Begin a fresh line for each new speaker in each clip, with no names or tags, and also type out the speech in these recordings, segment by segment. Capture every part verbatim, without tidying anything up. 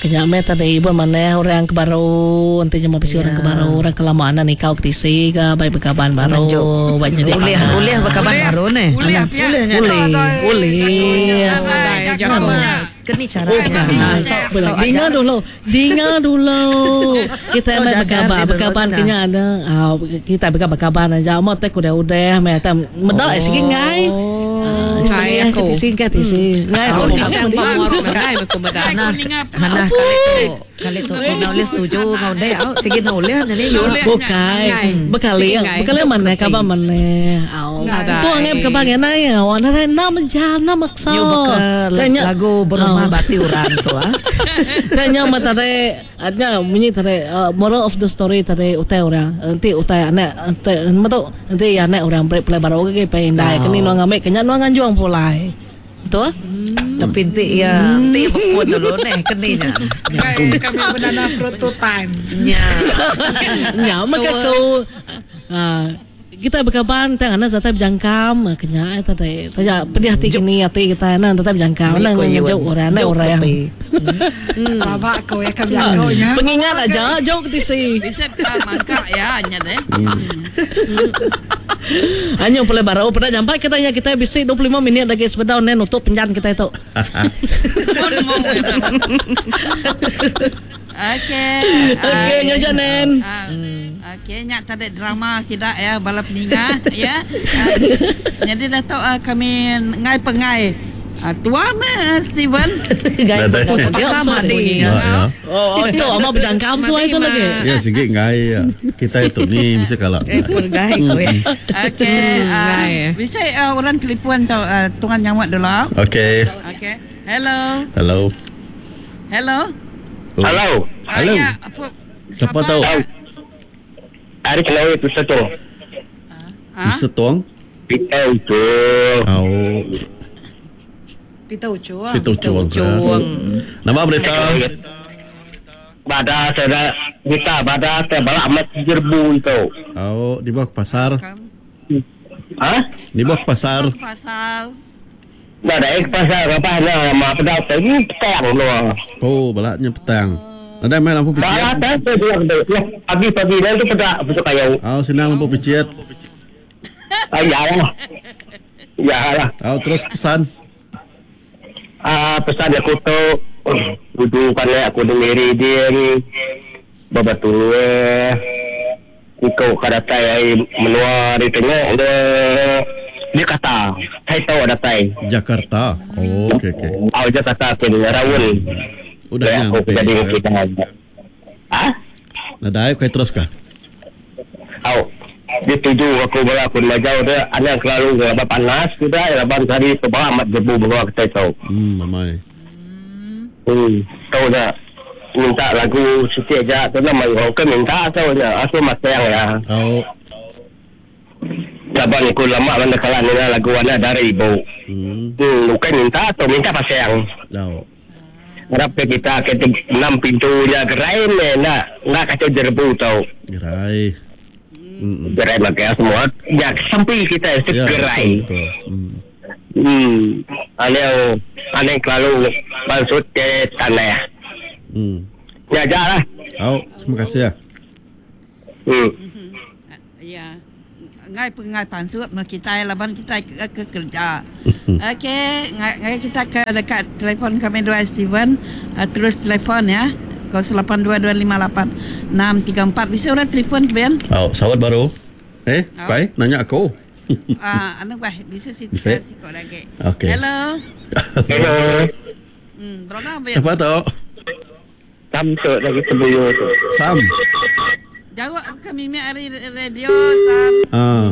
Kenya meh tadi ibu mana orang ke baru nanti cuma bisi orang ke baru orang ke lama anak nikau ke tisi ke baik berkaban baru baik jadi
ulih ulih berkaban baru nih
ulih
ulih ulih
kini cara
dinga dulu dinga dulu kita mai berkabar berkaban kenya ada kita berkabar-kabar aja mau teh udah udah meh teh medak sigi ngai
ngai aku
singkat sih ngai
aku pisang pamuar ngai aku medak
nah nah kali tu kali tu kau boleh setuju kau deh au sigi boleh ni yo
bukai bekali bekali mana kabar mana au tu ngai berkabar ngai au na na jam na maksa
lagu berumah bati orang tu ah
tanya mata tadi adnya bunyi tadi moral of the story tadi utai orang nanti utai anak nanti nanti anak orang break play baru ke pe indai kini nuang ambil kenya nuang anjuang pulai betul
tapi nanti ya nanti pun dulu nih keninya
kami banana fruit two time
nya
nya maka kau kita berkaban tang anak tetap berjangkam kenya tadi tanya pedih hati kini hati kita anak tetap berjangkam anak ngejauh orang anak orang
babak kau ya kami kau nya
pengingat aja jauh ke tisi
bisa mangka ya nya deh
anyo boleh baru pada jampai kita ya kita bisa dua puluh lima minit lagi sepeda nen nutup penjan kita itu.
Okey.
Okey nyoja nen.
Okey nyak tadi drama sidak ya bala peninga ya. Jadi dah tahu kami ngai pengai. Tua meh Steven.
Sama di.
Oh itu ama berjangkam semua itu lagi.
Ya sigi ngai kita itu ni bisa kalah.
Ngai kowe.
Okey. Bisa orang telefon tau tuan nyawat dulu.
Okey.
Okey. Hello.
Hello.
Hello.
Hello.
Hello. Siapa tahu?
Ari kenal Mister Tong.
Mister Tong?
Peter Ucung.
Oh.
Peter Ucung.
Peter Ucung. Nama berita?
Bada saya kita bada saya balak amat jerbu itu.
Oh, di bawah pasar.
Hah?
Di bawah pasar.
Pasar.
Bada ek pasar apa nama apa dah petang loh.
Oh, balaknya petang. Ada main lampu picit.
Balak saya pagi-pagi dah tu pada besok kayu.
Oh, senang lampu picit.
Ah, ya lah. Ya lah.
Oh, terus pesan.
Ah, pesan aku tu duduk kan aku dengeri dia ni. Babatul eh. Kau kadatai menua di tengok dia. Dia kata, saya tahu ada tai.
Jakarta. Oh, okey okey.
Oh, Jakarta ke Rawul.
Udah nyampe.
Jadi kita aja. Ah?
Nadai kau terus kah?
Oh. Dia tuju aku bola aku nak jauh dia ada selalu apa panas sudah laban tadi ke bawah amat jebu bawa kita tahu.
Hmm, mamai.
Hmm, tahu dah. Minta lagu sikit aja tu nama orang ke minta tahu dia. Aku masang ya.
Oh.
Laban aku lama mana kalah ni lagu ana dari ibu.
Hmm.
Hmm, bukan minta atau minta pasang.
Oh.
Harap kita ke enam pintunya gerai ni nak nak kacau jerbu tau.
Gerai. Hmm.
Gerai makai semua. Ya sampai kita
ya,
gerai.
Betul, betul. Hmm.
Hmm. Ane ane lalu maksud ke tanah.
Hmm.
Ya lah.
Oh, terima kasih ya.
Hmm.
Ya. Ngai pengai pansut no kita laban kita ke, ke kerja. Okey, ngai, ngai kita ke dekat telefon kami dua Steven, uh, terus telefon ya. kosong lapan dua dua lima lapan enam tiga empat. Bisa orang telefon Ben?
Oh, sawat baru. Eh,
oh.
Pai, nanya aku.
Ah, anu bah, bisa si
bisa
sikok lagi.
Okey.
Hello.
Hello.
Hmm, berapa Ben?
Siapa tu?
Sam tu lagi sebelum tu.
Sam.
Jawab kami mi hari radio Sam.
Ah.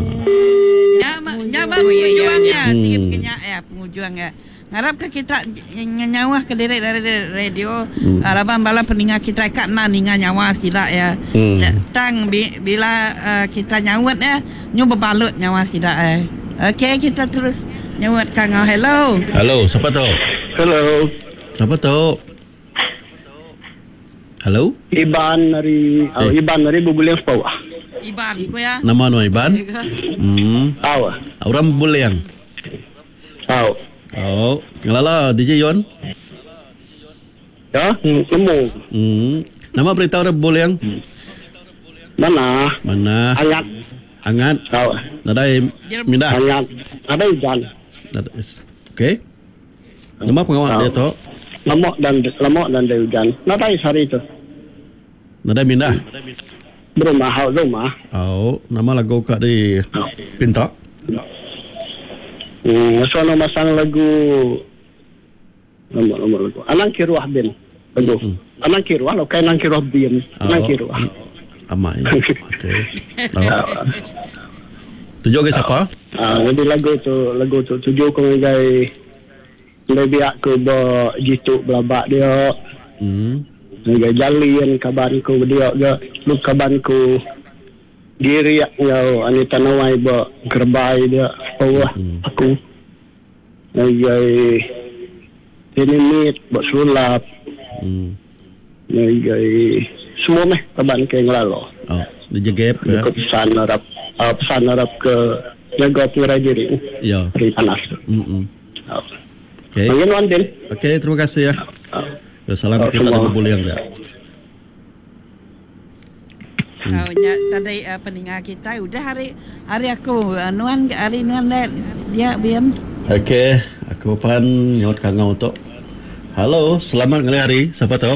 Nyama nyama pengujuangnya, sikit kenyak ya pengujuangnya. Ngarap ke kita nyawah ke direk dari radio hmm. Laban bala peninga kita kat na ninga nyawa sidak ya.
Hmm.
Tang bi, bila uh, kita nyawat ya nyu berbalut nyawa sidak eh. Okey kita terus nyawat kang. Hello.
Hello, siapa tu?
Hello.
Siapa tu? Hello?
Iban dari oh,
eh.
Iban dari Bubuliang Sepau.
Iban ku ya.
Nama nu Iban? Hmm.
Tahu.
Orang Buliang.
Tahu.
Oh, ngelala D J Yon.
Ya, nemu.
Hmm. Nama berita orang Buling?
Mana?
Mana?
Hangat.
Hangat.
Oh.
Nadai mindah.
Hangat. Ada hujan.
Okey. Nama pengawal dia tu?
Lemak dan lemak dan ada hujan. Nadai sehari tu.
Nadai mindah.
Berumah, hak rumah.
Oh, nama lagu kat di Pinta.
Hmm, so nama masang lagu nama nama lagu. Anang Kiruah bin. Lagu. Mm-hmm. Anang Kiruah, lo kai Anang Kiruah bin. Anang
Oh.
Kiruah.
Amai. Okey. Oh. Tujuh ke siapa?
Ah, jadi lagu tu lagu tu tuju ke ngagai lebih aku ba jitu belabak dia.
Hmm.
Ngagai jalin kaban ku dia ge lu kaban ku diri ngau Anita Nawai ba kerbai dia bawah hmm. aku. Ngagai ini mit ba sulap.
Hmm.
Ngagai semua meh kaban ke ngelalo.
Oh, dia gap ya.
Aku pesan harap uh, pesan harap ke jaga pengerai diri.
Ya.
Hari panas.
Hmm.
Oh.
Okey.
Panggil Wan Din.
Okey, terima kasih ya. Salam
Oh,
kita
semua.
ada Buling dia.
Hmm. Oh, nya, tadi uh, pendengar kita udah hari hari aku uh, nuan hari nuan dia, dia bian.
Okey, aku pan nyot kangau tu. Halo, selamat ngalih hari. Siapa tu?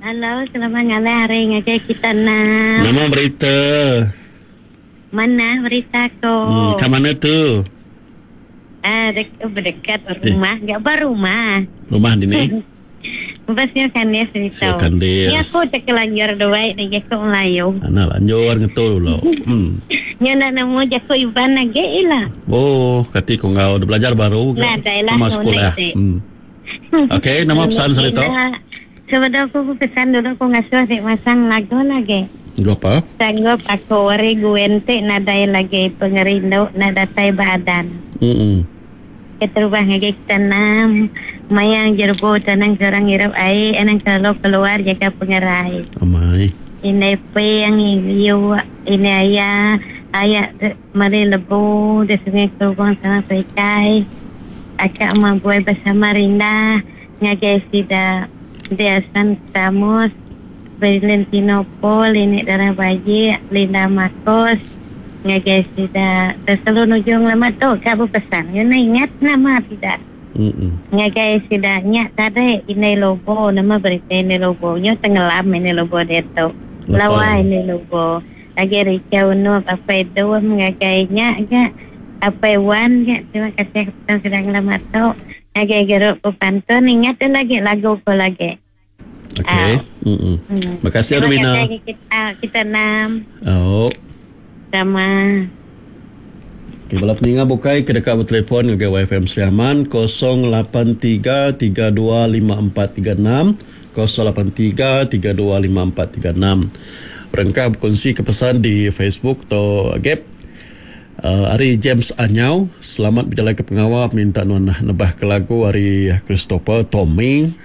Halo, selamat ngalih hari ngagai kita nak.
Nama berita.
Mana berita ko?
Hmm, kat mana tu?
Ah, dek, berdekat rumah, enggak berumah.
Rumah di ni.
Pasnya kandis ni
Siu
tau.
kandis.
Ni aku tak kelanjur duit ni jaku Melayu.
Ana lanjur ngetul dulu. Hmm.
Ni nak nemu jaku Iban lagi lah.
Oh, kati kau ngau dah belajar baru ke?
Nah, dah lah,
Nama
kau
sekolah.
naik, dek.
Hmm. Okey, nama pesan saya tu.
Sebelum aku pesan dulu aku ngasuh dek masang lagu lagi.
Lagu apa?
Sanggup aku wari guente nadai lagi pengerindu nadatai badan.
Hmm.
Keterubah ngagai tanam mayang jerbu tanang seorang hirap air anang kalau keluar jaga pengerai.
Amai.
Ini peng iu ini ayah ayah mari lebu di sungai kerubang sama perikai. Akak mampu bersama Rinda ngagai sida Deasan Tamus Valentino Paul ini darah bayi Linda Marcos ngagai sida terlalu nujung lama tu kak berpesan you ingat nama tidak
Hmm.
ngagai sida nyak tadi ini lobo nama berita ini lobo nyo tenggelam ini lobo dia tu lawa ini lobo lagi ricau nu apa itu ngagai nyak nyak apa wan nyak terima kasih kepada sedang lama tu ngagai geruk pantun ingat tu lagi lagu ko lagi
Okey. Hmm.
Hmm.
Terima kasih
Terima
Rubina.
kasih kita kita enam
Oh.
sama
Okay, bala peninga bukai ke dekat bertelefon ngagai Y F M Sri Aman kosong lapan tiga tiga dua lima empat tiga enam kosong lapan tiga tiga dua lima empat tiga enam. Berengkah berkongsi kepesan di Facebook atau Gap. Uh, Ari James Anyau, selamat berjalan ke pengawal minta nuan nebah ke lagu Ari Christopher Tommy.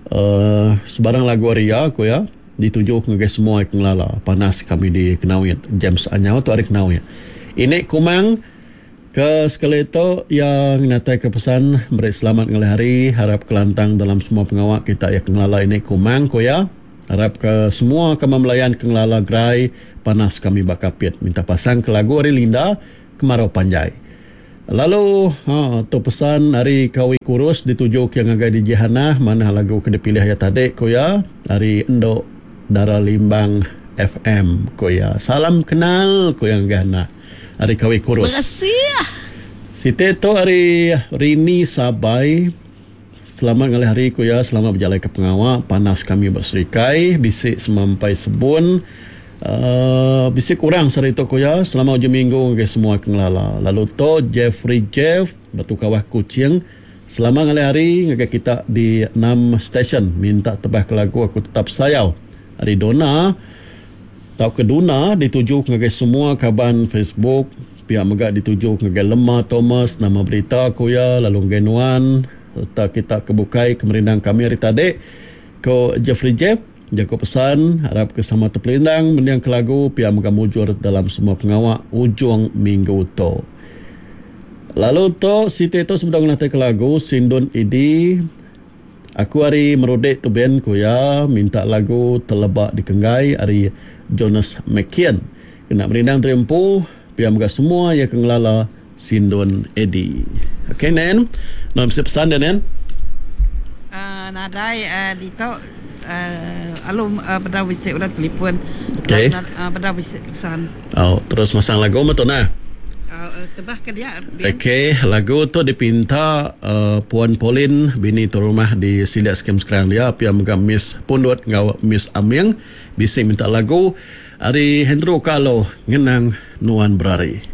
Uh, sebarang lagu Aria aku ya dituju ngagai semua yang ngelala panas kami di Kenawit. James Anyau tu Ari Kenawit. Ini Kumang ke sekali itu yang natai ke pesan beri selamat ngalih hari harap kelantang dalam semua pengawal kita yang ngelala ini Kumang ko ya harap ke semua kami melayan ke ngelala gerai panas kami bakapit minta pasang ke lagu Ari Linda kemarau panjai. Lalu ha, tu pesan hari Kawi Kurus dituju ke ngagai di Jihana mana lagu ke dipilih ya tadi ko ya hari Endok Dara Limbang F M ko ya. Salam kenal ko yang gana hari Kawi Kurus.
Terima kasih.
Siti tu hari Rini Sabai. Selamat ngalih hari ku ya, selamat berjalan ke pengawal. Panas kami berserikai, bisik semampai sebun. Uh, bisik kurang sehari tu ku ya. Selamat hujung minggu ke semua kengelala. Lalu tu Jeffrey Jeff, Batu Kawah Kuching. Selamat ngalih hari ngagai kita di enam stesen. Minta tebah ke lagu aku tetap sayau. Hari Dona tau ke Duna dituju ngagai semua kaban Facebook. Pihak megak dituju ngagai Lemah Thomas nama berita ku ya lalu ngagai Nuan serta kita kebukai kemerindang kami hari tadi ko Jeffrey Jeff jago pesan harap ke sama terpelindang mendiang ke lagu pihak megak mujur dalam semua pengawak ujung minggu tu. Lalu tu Siti tu sebelum ngelatih ke lagu Sindun Idi Aku ari Merudek tu Ben ku iya minta lagu Teleba Dikenggai ari Jonas Makian. Kena merindang diri empu pia mega semua iya ke ngelala Sindun Eddie. Okey Nen, nuan bisi pesan dia Nen?
Uh, nadai uh, ditu uh, alu uh, bedau bisi udah telefon.
Okey.
Uh, bedau bisi pesan.
Oh, terus masang lagu mah tu nah.
Uh, tebah ke dia. Ben.
Okey, lagu tu dipinta uh, Puan Pauline bini tu rumah di Silat Skem sekarang dia pia mega Miss Pundut ngau Miss Aming bisi minta lagu ari Hendro Kalo ngenang Nuan Berari.